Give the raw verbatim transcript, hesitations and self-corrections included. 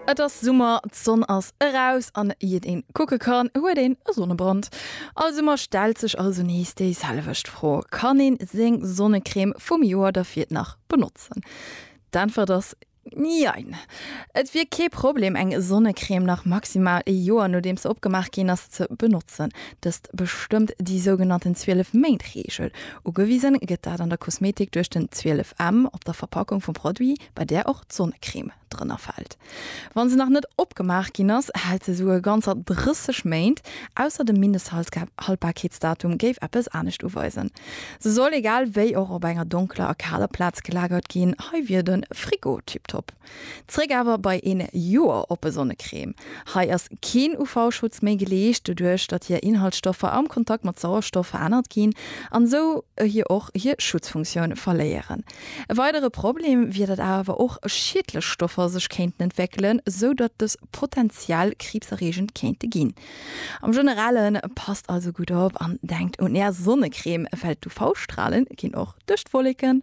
Et ass Summer, d'Sonn ass eraus an iert een kucke kann, huet een e Sonnebrand. All Summer stellt sech also nees déi selwecht Fro, Kann een seng Sonnecrème vum Joer dervir nach benotzen? D'Äntwert ass Jein. Et wier kee Problem eng Sonnecrème nach maximal e Joer nodeems se opgemaach ginn ass ze benotzen. Dëst bestëmmt déi sougenannten zwielef Méint Reegel. Ugewisen gëtt dat an der Kosmetik duerch den zwielef M op der Verpackung vum Produit, bei där och d'Sonnecrème drënner fält. Wann se nach net opgemaach ginn ass, hält se souguer ganzer drësseg Méint, ausser de Mindesthaltbarkeetsdatum géif eppes anescht uweisen. Se soll egal wéi och op enger donkeler a kaler Plaz gelagert ginn, hei wier de Frigo tiptop. Zréck awer bei een Joer oppe Sonnecrème. Hei ass keen U V-Schutz méi geleescht, doduerch datt hir Inhaltsstoffer am Kontakt mat Sauerstoff verännert ginn an esou hir och hir Schutzfunktioun verléieren. E weidere Problem wier, datt awer och schiedlech Stoffer sech kéinten entwéckelen, esou datt dës potenziell kriibserreegend kéinte ginn. Am Generelle passt also gutt op an denkt un är Sonnecrème, well d'U V-Strale ginn och duerch d'Wolleken.